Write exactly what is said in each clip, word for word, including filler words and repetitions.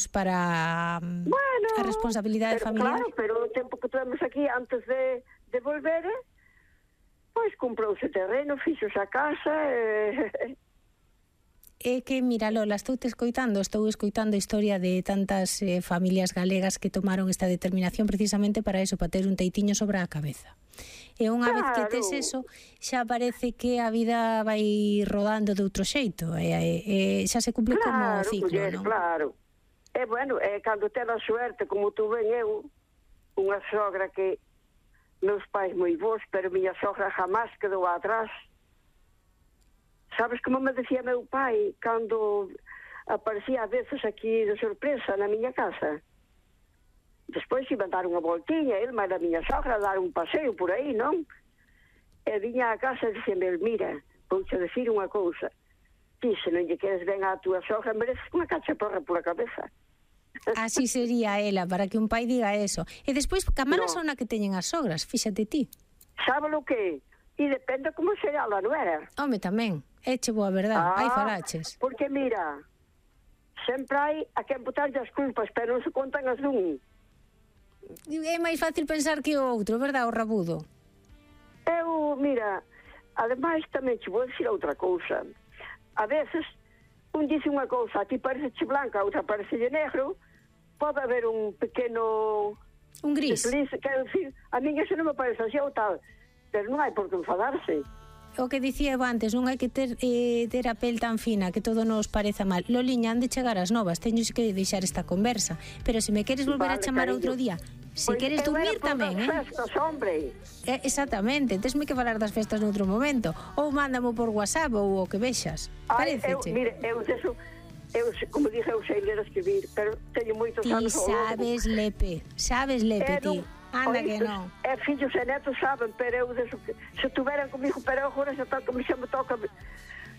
para bueno, a responsabilidade pero, familiar. Claro, pero o tempo que tuvemos aquí antes de, de volver, pois comprouse terreno, fixose a casa e... É que, mira, Lola, estou te escoitando, estou escoitando a historia de tantas eh, familias galegas que tomaron esta determinación precisamente para eso, para ter un teitiño sobre a cabeza. E unha claro. vez que tes eso, xa parece que a vida vai rodando de outro xeito, e, e, e xa se cumple claro, como ciclo, muller, non? Claro, e bueno, é cando ten a suerte, como tu ven eu, unha sogra que meus pais moi bons, pero miña sogra jamás quedou atrás. Sabes como me decía meu pai cando aparecía a veces aquí de sorpresa na miña casa? Despois iba a dar unha voltiña, ele máis a miña sogra a dar un paseo por aí, non? E viña a casa e dixeme, mira, vouche decir unha cousa, ti se non lle queres ben a túa sogra mereces unha cachaporra pola cabeza. Así sería ela, para que un pai diga eso. E despois, que mala no. Sona que teñen as sogras, fíxate ti. Sabe lo que? E depende como será a non era. Home, tamén. Eche boa verdade, ah, hai falaches. Porque mira, sempre hai a quen botarlle as culpas, pero non se contan as dun. É máis fácil pensar que o outro, verdade, o rabudo? Eu, mira, ademais tamén che vou dicir outra cousa. A veces, un dice unha cousa, a ti parece blanca, a outra parece negro, pode haber un pequeno... Un gris. Desliz, quero dicir, a mí eso non me parece así ou tal, pero non hai por que enfadarse. O que dicía eu antes, non hai que ter, eh, ter a pel tan fina que todo nos pareza mal. Loliña, han de chegar as novas, teño que deixar esta conversa, pero se me queres volver vale, a chamar cariño. Outro día, se pues queres dormir tamén, eh? Festas, hombre. Eh, exactamente, tesme que falar das festas noutro momento, ou mándamo por WhatsApp ou o que vexas. Paréceche? Mire, eu deso, eu, como dije, eu sei ler a escribir, pero teño moitos ti anos. Ti sabes lepe, sabes lepe, ti. Anda que non. É fillos e netos saben, pero eu deso que se tuveran comigo, pero agora xa toca, xa me toca.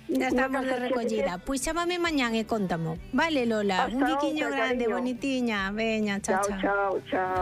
Ya estamos de recollida. Pois pues chámame mañán e contamo. Vale, Lola, hasta un biquiño outra, grande, cariño. bonitiña. Veña, chao, chao. Chao, chao, chao.